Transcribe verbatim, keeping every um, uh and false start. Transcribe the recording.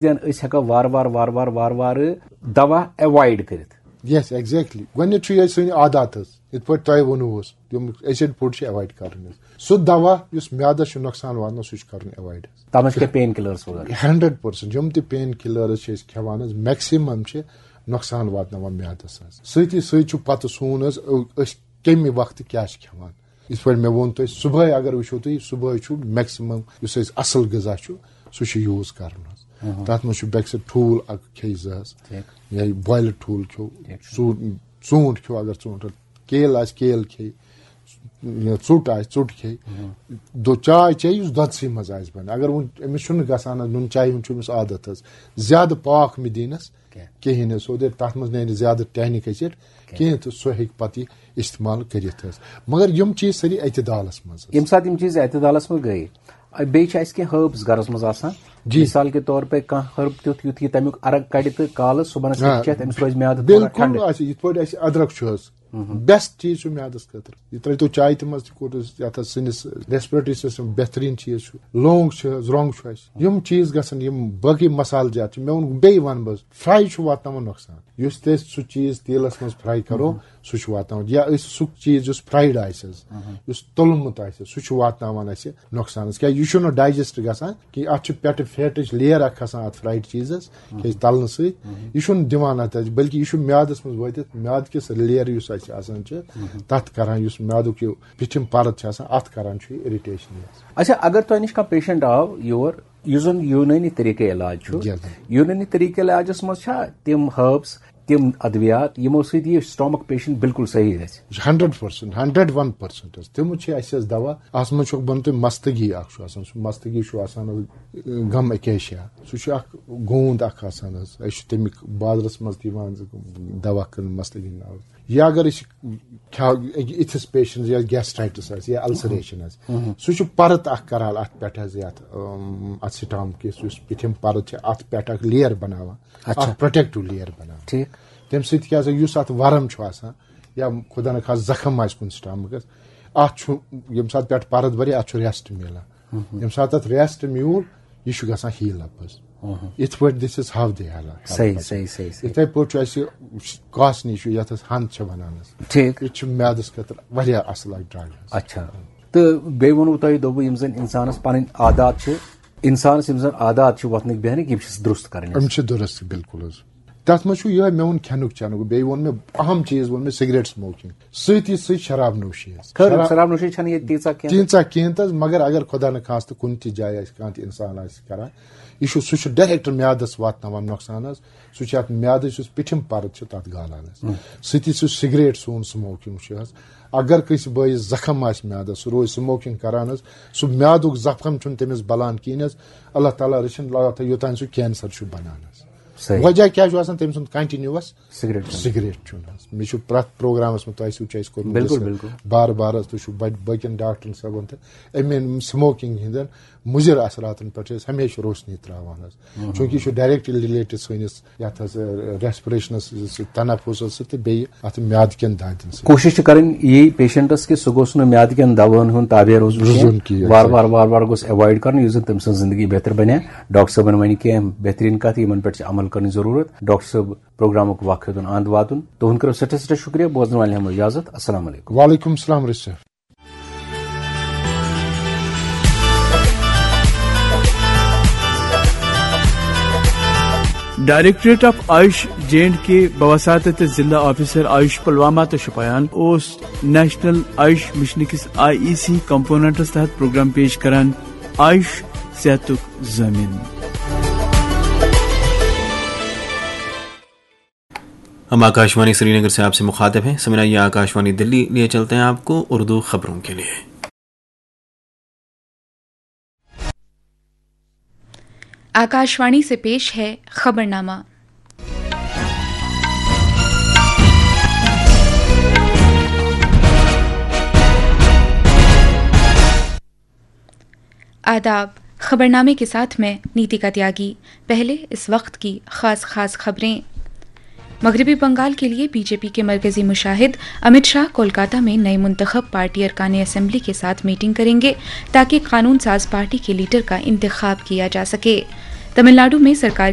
زن أسۍ ہٮ۪کو وارٕ وارٕ وارٕ وارٕ وارٕ وارٕ دوا ایوایڈ کٔرِتھ؟ یس، ایگزیکٹلی۔ گۄڈٕنیتھ چھُ یہِ سٲنۍ عادات حظ، یِتھ پٲٹھۍ تۄہہِ ووٚنوُ اوس، یِم ایسڈ فوڈ چھِ ایوایڈ کرٕنۍ حظ۔ سُہ دوا یُس میادس چھُ نۄقصان واتناوان، سُہ چھُ کرُن ایوایڈ حظ۔ تتھ منٛز چھِ کینٛہہ پین کِلرس وغیرہ؟ Hundred percent. یِم تہِ پین کِلرس چھِ أسۍ کھٮ۪وان حظ، میکسِمم چھِ نۄقصان واتناوان میادس حظ۔ سۭتی سۭتۍ چھُ پتہٕ سون حظ، أ-، أسۍ کمہِ وقتہٕ کیٛاہ چھِ کھٮ۪وان۔ یِتھ پٲٹھۍ مےٚ ووٚن تۄہہِ، صُبحٲے اگر وٕچھو تُہۍ، صُبحٲے چھُ میکسِمم یُس اَسہِ اَصٕل غذا چھُ، سُہ چھُ یوٗز کَرُن حظ۔ تَتھ منٛز چھُ بیٚکہِ سۭتۍ ٹھوٗل اَکھ کھیٚیہِ زٕ حظ، ٹھیٖک۔ یا بویلٕڈ ٹھوٗل کھیٚو، ٹھیٖک چھُ۔ ژوٗ-، ژوٗنٛٹھ کھیٚو، اگر ژوٗنٛٹھ، کیل آسہِ، کیل کھیٚیہِ، یا ژوٚٹ آسہِ، ژوٚٹ کھیٚیہِ۔ دۄ-، چاے چیٚیہِ یُس دۄدسٕے منٛز آسہِ بَنان۔ اگر وۄنۍ أمِس چھُنہٕ گژھان حظ، نُن چاے ہُنٛد چھُ أمِس عادت حظ، زیادٕ پاکھ مہٕ دِنَس کینٛہہ۔ کِہیٖنۍ حظ۔ سیوٚدُے تَتھ منٛز نیرِ زیادٕ ٹہنِک ایسڈ کینٛہہ۔ کینٛہہ تہٕ سُہ ہیٚکہِ پَتہٕ یہِ استعمال کٔرِتھ حظ۔ مگر یِم چیٖز سٲری اعتدالَس منٛز حظ۔ ییٚمہِ ساتہٕ یِم چیٖز اعتدالَس منٛز گٔے، بیٚیہِ چھِ اَسہِ کینٛہہ ہربس گَرَس منٛز آسان۔ جی۔ مثال کے طور پہ کانٛہہ ہرب تیُتھ، یُتھ یہِ تَمیُک عرق کَڑِ تہٕ کالہٕ صُبحَنَس آ، ہیٚکہِ چٮ۪تھ، أمِس روزِ میادٕ تھوڑا بالکل ٹھنٛڈٕ۔ آسہِ، یِتھ پٲٹھۍ اَسہِ أدرَک چھُ حظ، بیسٹ چیٖز چھُ میادَس خٲطرٕ۔ یہِ ترٛٲوتو چایہِ تہِ منٛز تہِ کوٚر أسۍ یَتھ حظ سِنِس، ریسپریٹری سسٹم بہتریٖن چیٖز چھُ۔ لونٛگ چھِ حظ، رۄنٛگ چھُ اَسہِ۔ یِم چیٖز گژھن، یِم باقٕے مسالہٕ جات چھِ، مےٚ ووٚن، بیٚیہِ وَنہٕ بہٕ حظ، فراے چھُ واتناوان نۄقصان۔ یُس تہِ أسۍ سُہ چیٖز تیٖلَس منٛز فراے کَرو، سُہ چھُ واتناوان۔ یا أسۍ سُہ چیٖز یُس فرایڈ آسہِ حظ، یُس توٚلمُت آسہِ، سُہ چھُ واتناوان اَسہِ نۄقصانَس۔ کیٛازِ یہِ چھُنہٕ ڈایجسٹ گژھان کینٛہہ، اَتھ چھُ پٮ۪ٹھٕ فیٹٕچ لیئر اَکھ کھسان اَتھ فرایڈ چیٖزَس، کیٛازِ تَلنہٕ سۭتۍ۔ یہِ چھُنہٕ دِوان اَتھ اَسہِ، بلکہِ یہِ چھُ میادَس منٛز وٲتِتھ، میادٕ کِس لیئر یُس اَسہِ آسان چھِ، تَتھ کَران، یُس میادُک یہِ پِٹھِم پَرت چھِ آسان، اَتھ کَران چھُ یہِ اِرِٹیشن حظ۔ اچھا، اگر تۄہہِ نِش کانٛہہ پیشنٹ آو یور، یُس زَن یوٗنٲنی طریٖقے علاج چھُ، یَس۔ یوٗنٲنی طریٖقے علاجَس منٛز چھا تِم ہربس، تِم ادویات، یِمو سۭتۍ یہِ سٹامک پیشنٹ بالکل صحیح گژھِ؟ ہنڈریڈ پرسنٹ، ہنڈریڈ ون پرسنٹ حظ۔ تِم چھِ اَسہِ حظ دوا، اَتھ منٛز چھُ بنان تۄہہِ مستگی اکھ چھُ آسان، سُہ مستگی چھُ آسان حظ گم اکیشیا، سُہ چھُ اکھ گوٗند اکھ آسان حظ۔ أسۍ چھِ تَمیُک بازرس منٛز تہِ یِوان دوا کٕننہٕ مستگی ناوٕ۔ یا اگر أسۍ کھیٛاو-، یِتھِس پیشنٹس یا گیسٹرائٹس آسہِ یا السریشن آسہِ، سُہ چھُ پرت اکھ کران اتھ پٮ۪ٹھ حظ، یتھ، اۭم، اتھ سٹامک کِس یُس پِٹھِم پرت چھِ، اتھ پٮ۪ٹھ اکھ لیئر بناوان، اچھا۔ اکھ پروٹیکٹو لیئر بناوان۔ ٹھیٖک۔ تَمہِ سۭتۍ کیٛاہ سا، یُس اَتھ ورم چھُ آسان یا خۄدا نخواستہٕ زخم آسہِ کُنہِ سٹامکَس، اَتھ چھُ، ییٚمہِ ساتہٕ پٮ۪ٹھ پَرت بَرِ، اَتھ چھُ ریسٹ میلان۔ ییٚمہِ ساتہٕ اَتھ ریسٹ میوٗل، یہِ چھُ گژھان ہیٖل اَپ حظ۔ یِتھ پٲٹھۍ this is how they heal۔ صحیح، صحیح، صحیح، صحیح۔ یِتھَے پٲٹھۍ چھُ اَسہِ کاسنی چھُ، یَتھ أسۍ ہَنٛد چھِ وَنان حظ۔ ٹھیٖک۔ یہِ چھُ میادَس خٲطرٕ واریاہ اَصٕل اَکھ ڈرٛگ حظ۔ اچھا۔ تہٕ بیٚیہِ ووٚنوُ تۄہہِ، دوٚپوُ، یِم زَن اِنسانَس پَنٕنۍ عادات چھِ، اِنسانَس یِم زَن عادات چھِ وۄتھنٕکۍ بیٚہنٕکۍ، یِم چھِ درُست کَرٕنۍ یِم حظ۔ چھِ درست، بِلکُل حظ۔ تَتھ منٛز چھُ یِہوٚے مےٚ ووٚن کھٮ۪نُک چٮ۪نُک۔ بیٚیہِ ووٚن مےٚ اَہَم چیٖز، ووٚن مےٚ سِگریٹ سموکنگ، سۭتی سۭتۍ شراب نوشی حظ۔ خٲر، شراب شراب نوشی چھَنہٕ ییٚتہِ تیٖژاہ کینٛہہ۔ تیٖژاہ کینٛہہ تہٕ حظ، مگر اگر خۄدا نہٕ خاستہٕ کُنہِ تہِ جایہِ آسہِ کانٛہہ تہِ اِنسان آسہِ کَران، یہِ چھُ، سُہ چھُ ڈایریکٹ میادَس واتناوان نۄقصان حظ۔ سُہ چھُ اَتھ میادَس یُس پِٹھِم پَرت چھِ، تَتھ گالان حظ۔ سۭتی سُہ سِگریٹ سون سموکنگ چھُ حظ۔ اگر کٲنٛسہِ بٲیِس زخم آسہِ میادَس، سُہ روزِ سموکنگ کَران حظ، سُہ میادُک زخم چھُنہٕ تٔمِس بَلان کِہیٖنۍ حظ۔ اللہ تعالیٰ رٔچھِنۍ، اللہ تعالیٰ یوٚتام سُہ کینسر چھُ بَنان حظ۔ صحیح۔ وجہ کیٛاہ چھُ آسان تٔمۍ سُنٛد؟ کنٹینیوس سگریٹ چٮ۪وان۔ سگریٹ چیوٚن حظ۔ مےٚ چھُ پرٛٮ۪تھ پروگرامس منٛز تۄہہِ سۭتۍ چھُ اَسہِ کوٚرمُت بِلکُل، ڈسکس۔ بِلکُل۔ بار بار حظ، تُہۍ چھِو بَڑ-، باقین ڈاکٹرن صٲبن تہٕ اَمہِ سموکنگ ہٕنٛدٮ۪ن مُضِر اثراتن پٮ۪ٹھ چھِ أسۍ ہمیشہِ روشنی تراوان حظ۔ چوٗنکہِ یہِ چھُ ڈائریکٹ رِلیٹڈ سٲنِس یَتھ حظ، ریسپریشنس سۭتۍ، تنفسس سۭتۍ تہٕ بیٚیہِ اَتھ میادٕ کٮ۪ن دادٮ۪ن سۭتۍ۔ کوٗشِش چھِ کَرٕنۍ یی پیشنٹس کہِ سُہ گوٚژھ نہٕ میادٕ کٮ۪ن دوہَن ہُنٛد تابع روزُن روزُن کینٛہہ۔ کینٛہہ۔ وار وار، وار وار گوٚژھ ایوایڈ کَرُن، یُس زَن تٔمۍ سٕنٛز زندگی بہتر بَنہِ۔ ڈاکٹر صٲبن وَنہِ کینٛہہ بہتریٖن کَتھ، یِمن پٮ۪ٹھ چھِ عمل کَرنٕچ ضروٗرت۔ ڈاکٹر صٲب، پروگرامُک وقت ہیوٚتُن اَنٛد واتُن۔ تُہُنٛد کٔرِو سٮ۪ٹھاہ سٮ۪ٹھاہ شُکریہ۔ بوزن والٮ۪ن ہٮ۪مو اِجازت۔ السلام علیکم۔ وعلیکم السلام رشید صٲب۔ Directorate of AYUSH J and K بوساطت ضلع آفیسر آیوش پلوامہ تہٕ شوپیان اوس نیشنل آیوش مشن کِس آئی ای سی کمپوننٹس تحت پروگرام پیش کران آیوش صحتُک ضامن۔ ہم آکاشوانی سری نگر سے آپ سے مخاطب ہیں۔ سامعین، آکاشوانی دلی لیے چلتے ہیں آپ کو اردو خبروں کے لیے۔ آکاشوانی سے پیش ہے خبرنامہ۔ آداب، خبرنامے کے ساتھ میں نیتیکا تیاگی۔ پہلے اس وقت کی خاص خاص خبریں۔ مغربی بنگال کے لیے بی جے پی کے مرکزی مشاہد امت شاہ کولکاتہ میں نئے منتخب پارٹی ارکان اسمبلی کے ساتھ میٹنگ کریں گے، تاکہ قانون ساز پارٹی کے لیڈر کا انتخاب کیا جا سکے۔ तमिलनाडु में सरकार